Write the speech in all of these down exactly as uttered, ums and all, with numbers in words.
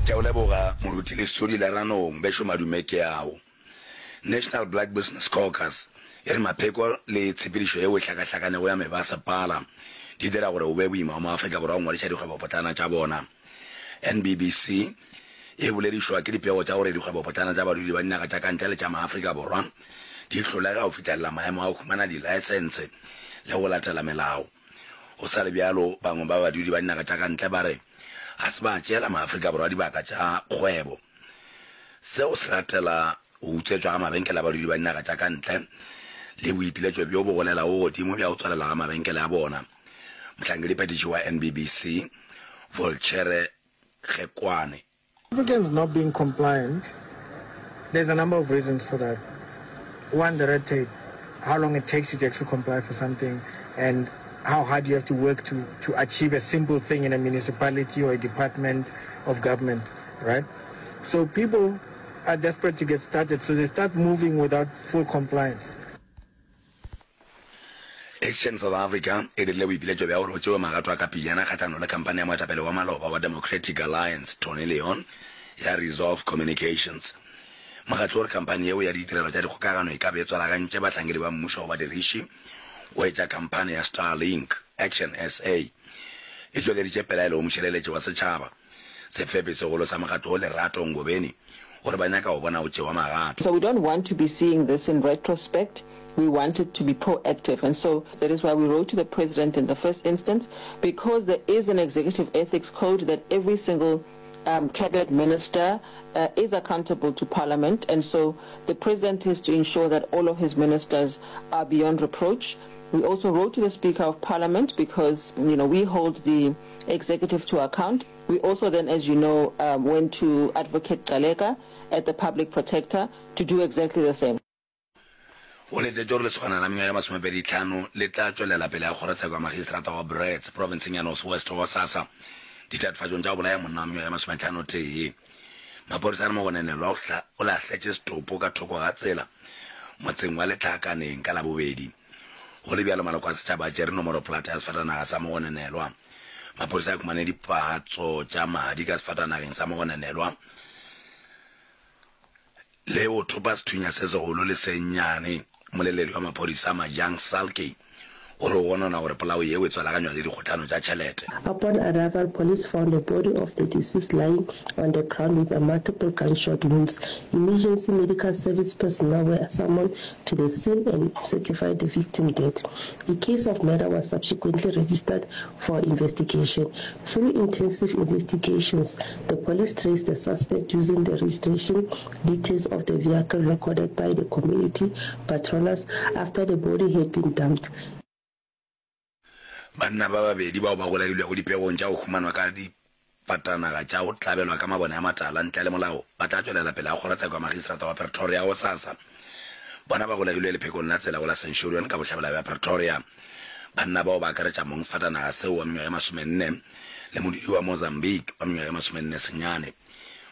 Ke a o leboga Moruti Lesodi Leranong, bešo madume ke ao. National Black Business Caucus e re mapheko le tshepedišo yeo e hlakahlakanego ya mebasepala di dira gore go be boima go maAfrika Borwa go ngwadiša dikgwebopotlana tša bona. N B B C e boledišwa ke dipego tša gore dikgwebopotlana tša badudi ba dinaga tša ka ntle le tša maAfrika Borwa di hlolega go fihlelela maemo a go humana dilaesense le go latela melao. Go sa le bjalo, bangwe ba badudi ba dinaga tša ka ntle ba re ga se ba tšeela maAfrika Borwa dibaka tša kgwebo. Seo se latela go utswetšwa ga mabenkele a badudi ba dinaga tša ka ntle le boipiletšo bjo bo golelago godimo bja go tswalelwa ga mabenkele a bona. Mohlankediphethiši wa N B B C, Volchere Gekwane. Africans not being compliant, there's a number of reasons for that. One, the red tape, how long it takes you to actually comply for something, and how hard you have to work to, to achieve a simple thing in a municipality or a department of government, right? So people are desperate to get started, so they start moving without full compliance. Action South Africa e dirile boipiletšo bja gore go tšewe magato a ka pejana kgahlanong le khamphani ya moetapele wa maloba wa Democratic Alliance Tony Leon ya Resolve Communications. Mokgatlo o re khamphani yeo ya ditirelo tša dikgokagano e ka be e tswalagantše bahlankedi ba mmušo go badiriši go etša khamphani ya Starlink. Action S A e tšweleditše pelaelo go mošireletši wa setšhaba, sefepi segolo sa mokgatlo wo Lerato Ngobeni, gore ba nyaka go bona go tšewa magato. So we don't want to be seeing this in retrospect, we want it to be proactive, and so that is why we wrote to the president in the first instance, because there is an executive ethics code that every single um, cabinet minister uh, is accountable to parliament, and so the president is to ensure that all of his ministers are beyond reproach. We also wrote to the Speaker of Parliament because, you know, we hold the executive to account. We also then, as you know, um, went to Advocate Gcaleka at the Public Protector to do exactly the same. Go letetšwe gore lesogana la mengwaga ye masomepedi tlhano le tla tšwelela pele ga kgorotsheko ya magistrata wa Brits profenseng ya North West gosasa ditatofatšong tša go bolaya monna wa mengwaga ye masometlhano tee. Maphodisa a re mogononelwa o o lahletše setopo ka thoko ga tsela motseng wa Letlhakaneng ka Labobedi. Go le bjalo maloko a setšhaba a tšere nomoro-polata ya sefatanaga sa mogononelwa. Maphodisa a humane dipatso tša madi ka sefatanageng sa mogononelwa le go thopa sethunya se segolo le se nnyane. Mmoleledi wa maphodisa Majang Salkey o re o gonona gore polao yeo e tswalaganywa le dikgohlano tša tšhelete. Upon arrival, police found the body of the deceased lying on the ground with a multiple gunshot wounds. Emergency medical service personnel were summoned to the scene and certified the victim dead. A case of murder was subsequently registered for investigation. Through intensive investigations, the police traced the suspect using the registration details of the vehicle recorded by the community patrollers after the body had been dumped. Banna ba babedi bao ba golegilwego dipegong tša go humanwa ka difatanaga tša go tlabelwa ka mabone a matala ntle le molao ba tla tšwelela pele ga kgorotsheko ya magistrata wa Pretoria gosasa. Bona ba golegilwe lephekong la tsela go la Centurion ka bohlabela bja Pretoria. Banna bao ba akaretša mong sefatanaga seo wa mengwaga e masomenne le modudi wa Mozambique wa mengwaga e masomenne senyane.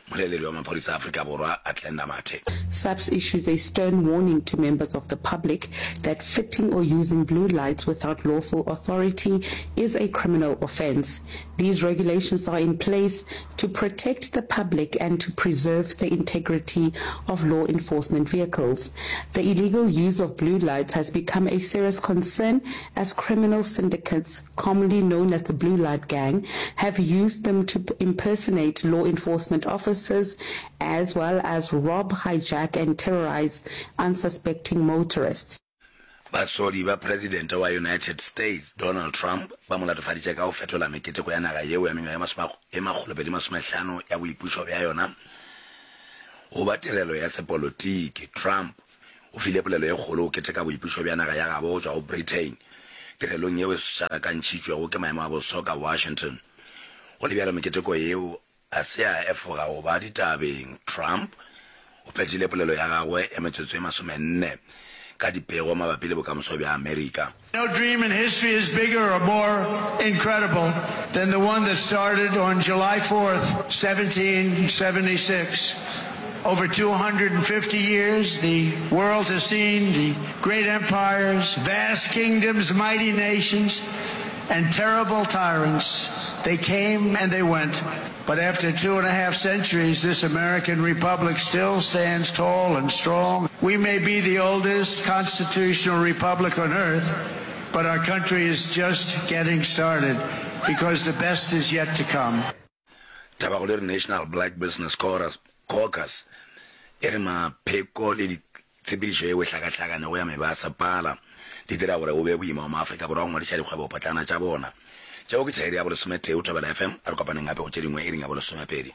Mmoleledi wa maphodisa a Afrika Borwa Athlenda Mathe. SAPS issues a stern warning to members of the public that fitting or using blue lights without lawful authority is a criminal offence. These regulations are in place to protect the public and to preserve the integrity of law enforcement vehicles. The illegal use of blue lights has become a serious concern as criminal syndicates, commonly known as the Blue Light Gang, have used them to impersonate law enforcement officers as well as rob, hijack and terrorize unsuspecting motorists. Basodi ba Presidente wa United States Donald Trump ba mo latofaditše ka go fetola meketeko ya naga yeo ya mengwaga e makgolopedi masomehlano ya boipušo bja yona go ba tirelo ya sepolotiki. Trump o file polelo e kgolo go keteka boipušo bja naga ya gabo go tšwa go Britain tirelong yeo e šarakantšhitšwego ke maemo a boso ka Washington. Go le bjalo meketeko yeo a se a efoga go ba ditabeng. Trump o phethile polelo ya gagwe ya metsotso e masomenne ka dipego mabapi le bokamoso bja Amerika. No dream in history is bigger or more incredible than the one that started on July fourth, seventeen seventy-six. Over two hundred fifty years, the world has seen the great empires, vast kingdoms, mighty nations. and terrible tyrants. They came and they went. But after two and a half centuries, this American republic still stands tall and strong. We may be the oldest constitutional republic on earth, but our country is just getting started because the best is yet to come. Tabakgolo e re National Black Business Caucus e re mapheko le ditshepedišo yeo e hlakahlakanego ya mebasepala di dira gore go be boima go maAfrika Borwa go ngwadiša dikgwebopotlana tša bona. Tšeo ke tša iri ya bolesometee go Thobela FM. A re kopaneng gape go tše dingwe iring ya bolesomepedi.